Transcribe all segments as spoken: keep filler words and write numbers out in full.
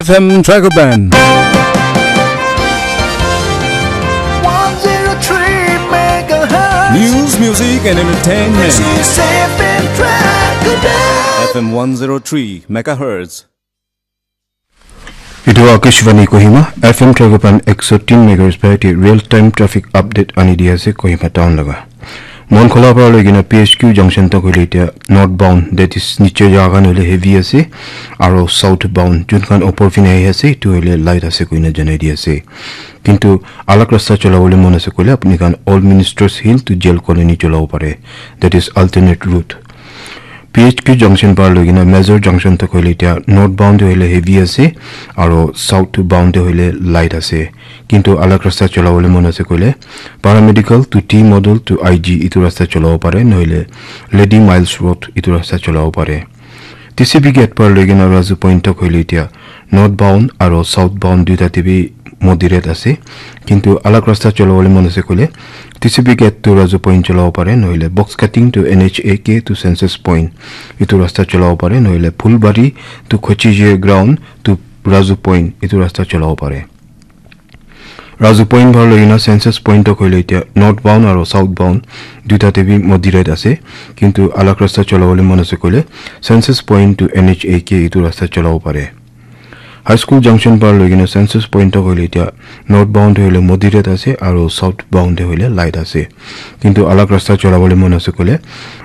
F M Dragoban. one zero three megahertz. News, music, and entertainment. This is F M Dragoban. F M one zero three megahertz. Etu Akashvani Kohima, F M Dragoban ek so tin megahertz pa yate real time traffic update ani di ase Kohima town laga. Monkhola para loi kena P H Q junction tak hoile etia north bound, that is niche jaga khan hoile heavy ase, aro south bound jun khan opor phine ahi ase etu hoile light ase koina janai di ase. Kintu alag rasta cholabole mon ase koile apni khan Old Ministers Hill to Jail Colony cholabo pare, that is alternate route. P H Q junction par loi kena Major junction tak hoile etia north bound te hoile heavy ase aro south bound te hoile light ase. Kintu alag rasta cholabole mon ase koile paramedical to T model to I G etu rasta cholabo pare, nohoile Lady Miles Road etu rasta cholabo pare. T C B gate par loi kena Razu Point tak hoile etia north bound aro south bound duita te bi moderate ase. Kintu alag rasta cholabole mon ase koile T C B gate to Razu Point cholabo pare, nohoile box cutting to N H A K to Census Point etu rasta cholabo pare, nohoile Phulbari to Khochije ground to Razu Point etu rasta cholabo pare. Razu Point bhal hoina Census Point tak hoile etia north bound aro south bound duita te bi moderate ase, kintu alag rasta cholabole mon ase koile Census Point to N H A K etu rasta cholabo pare. High School junction par loi kena Census Point tak hoile etia north bound te hoile moderate ase aro south bound te hoile light ase, kintu alag rasta cholabole mon ase koile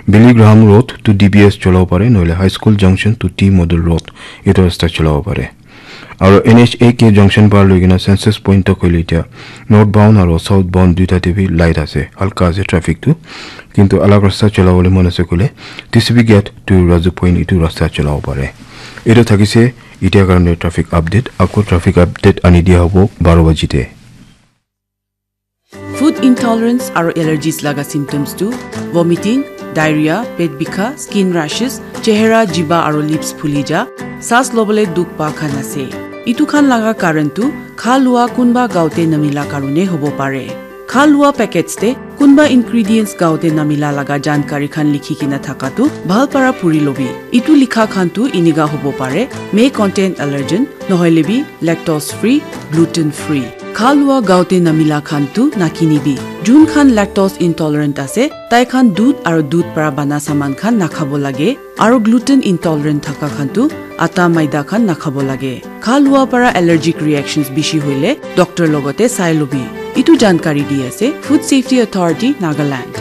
Billy Graham Road to D B S cholabo pare, nohoile High School junction to T Model Road etu rasta cholabo pare. Aro N H A K junction par loi kena Census Point tak hoile etia north bound aro south bound duita te bi light ase, halka ase traffic tu, kintu alag rasta cholabole mon ase koile T C B gate to Razu Point etu rasta cholabo pare. Etu thakise etia karone traffic update, ako traffic update ani dia hobo baro baji te. Food intolerance aro allergies laga symptoms tu vomiting, diarrhea, pet bikha, skin rashes, chehra, jiba aro lips phuli ja, saas lobole dukh pa khan ase. Itu khan laga karan tu kha lua kunba gaote namila karone hobo pare. Kha lua packets te kunba ingredients gaote namila laga jankari khan likhi kena thaka tu bhal para puri lobi. Itu likha khan tu iniga hobo pare, may contain allergen, nohoile bi lactose free, gluten free. Kha lua gaote namila khan tu nakinibi. Jun khan lactose intolerant ase, tai khan dudh aro dudh para bana saman khan nakhabo lage, aro gluten intolerant thaka khan tu atta maida khan nakhabo lage. Kha lua para allergic reactions bishi hoile doctor logote sai lobi. Itu jankari di ase Food Safety Authority, Nagaland.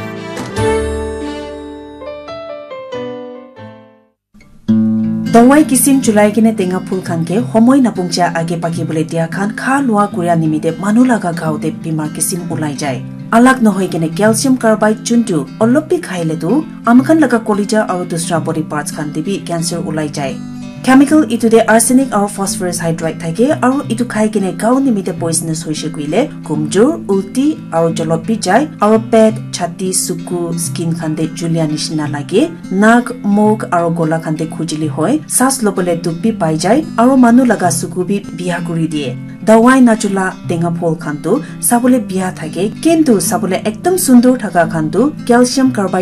Dawai kisim chulai kene tenga phul khan ke homoi napungcha age paki bole dia khan kha lua kuria nimite manu laga gao te bimar kisim ulai jai. Alak nohoi kene calcium carbide chuntu olop bi khaile tu amakhan laga kolija aru dusra body parts khan te bi cancer ulai jai. Chemical itu te arsenic aru phosphorus hydride thake aru itu khai kene gao nimite poisonous hoise kuile kumjur, ulti aru jolop bi jai aru pet, chhati, suku, skin khan te julia nishina lage. Nak, muk aro gola khan te khujili hoi, saas lobole dukh bi pai jai aro manu laga suku bi biya kuri diye. Dawai nachula tenga phol khan tu sabole biya thake, kintu sabole ekdom sundur thaka khan tu calcium carbide